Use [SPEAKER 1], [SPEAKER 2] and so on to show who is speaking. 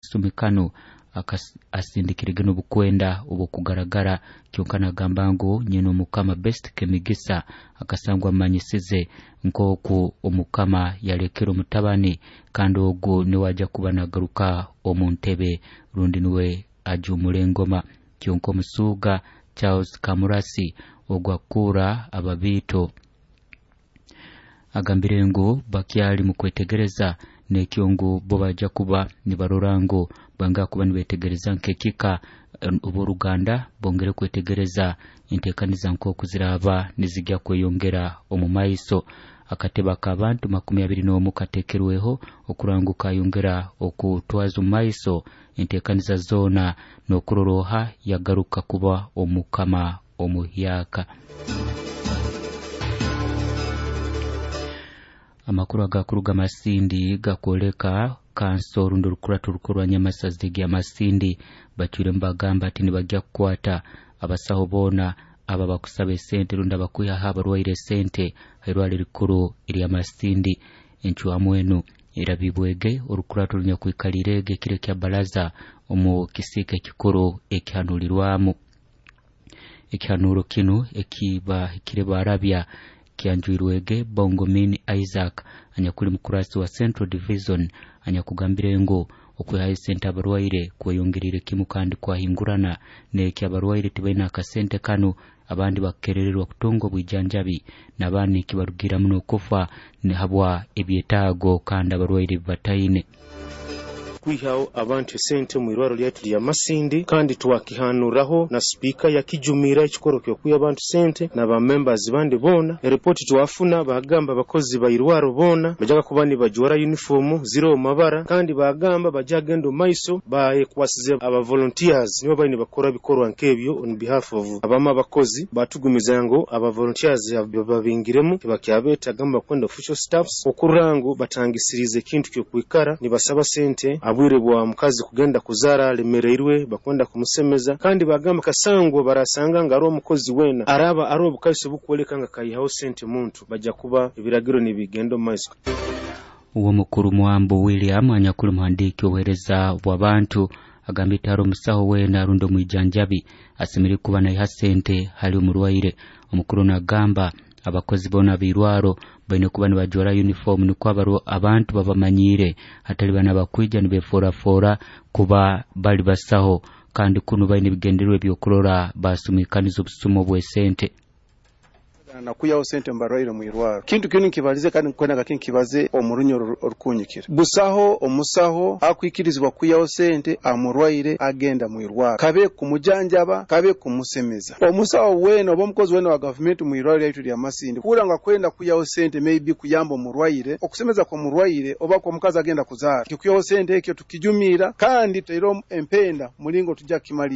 [SPEAKER 1] Kasumi kanu asindikirege n'obukwenda obw'okugaragara kyonka nagamba ngu nyina omukama Best Kemigisa akasangwa amanyisize nk'oku omukama yalekere omutabani, kandi ogu niwe ajja kuba nagaruka omu ntebe rundi niwe ajumura engoma. Kyonka omusuuga Charles Kamurasi ogu akuura ababiito agambire ngu bakyali mu kwetegereza, nekyo ngu bo bajja kuba nibarora ngu banga kuba nibetegereza nk'ekika oboruganda bongere kwetegereza entekaniza nk'oku ziraba nizijja kweyongera omu maiso. Akatebe ak'abantu 21 katekerweho okurora ngu kayongera okutwaza omu maiso entekaniza zoona n'okurora oha yagaruka kuba omukama omuhyaka. Amakuru agakuruga Masindi gakwoleka kanso rundi orukurato orukuru rwa Nyamasazi rya Masindi bacwiremu bagamba ati nibajja kukwata abasaho boona aba bakusaba esente rundi abakwihaho abarwaire esente hairwaro erikuru erya Masindi. Encwamu enu erabibwege orukurato runyakwikalireege ekiro ekya baraza omu kisiika ekikuru ekihanulirwamu. Ekihanuro kinu ekibahikire barabya kyanjwirwege Bongomin Isaac anyakuli mukurasi wa Central Division, anyakugambire ngu okwihayo esente abarwaire kweyongerire kimu kandi kwahingurana, neki abarwaire tibaina akasente kanu, abandi bakerererwa kutunga obwijanjabi, n'abandi kibarugiramu n'okufa habwa ebyetaago kandi abarwaire bataine.
[SPEAKER 2] Kwihaho abantu esente mu irwaro lyaitu lya Masindi, kandi twakihanuraho na sipiika yakijumira ekikoro ky'okwiha abantu sente na ba members bandi boona. Eripoti twafuna bagamba abakozi ba irwaro boona bajaga kuba nibajwara uniform ziro mabara, kandi bagamba baja genda omu maiso bayekwasize aba volunteers nibo bali nibakora bikorwa nk'ebyo on behalf of abamu abakozi. Batugumiza ngu aba volunteers babingiremu tibakyabetaga bakwenda official staffs okurora ngu batangisirize ekintu ky'okwikara nibasaba sente abwire bwa mukazi kugenda kuzara alemereirwe bakwenda kumusemeza. Kandi bagamba kasangwa barasanga nga ari omukozi wena araba ari obukaiso bukwoleka nga kayihaho sente muntu, bajja kuba ebiragiro nibigenda omu maiso.
[SPEAKER 1] Uwo mukuru Mwambo William anyakuli muhandiki obuhereza bw'abantu agambye tari omusaho wena rundi omwijanjabi asemeriire kuba naiha sente hali omurwaire. Omukuru nagamba abakozi boona b'irwaro baine kuba nibajwara uniform nikwo abantu babamanyire, hatali bana bakwija nibeforafora kuba bali basaho, kandi kunu baine ebigendererwa ebyokurora basumikaniza obusumo bw'esente.
[SPEAKER 3] Nakuyaho sente mbarwaire mu irwaro. Kintu kinu nkibalize kandi nkwenda kinkibaze omurunyo orukunyikira. Busaho omusaho akwikirizibwa kuyaho sente amurwaire agenda mu irwaro, kabe kumujanjaba kabe kumusemeza. Omusaho wena oba omukozi wena wa gavumenti mu irwaro lyaitu lya Masindi kura nga kwenda kuyaho sente maybe kuyamba omurwaire okusemeza kwa murwaire oba kwa mukazi agenda kuzaara, kikuyaho sente ekyo tukijumira kandi tutaire empenda mulingo tujja kimalira.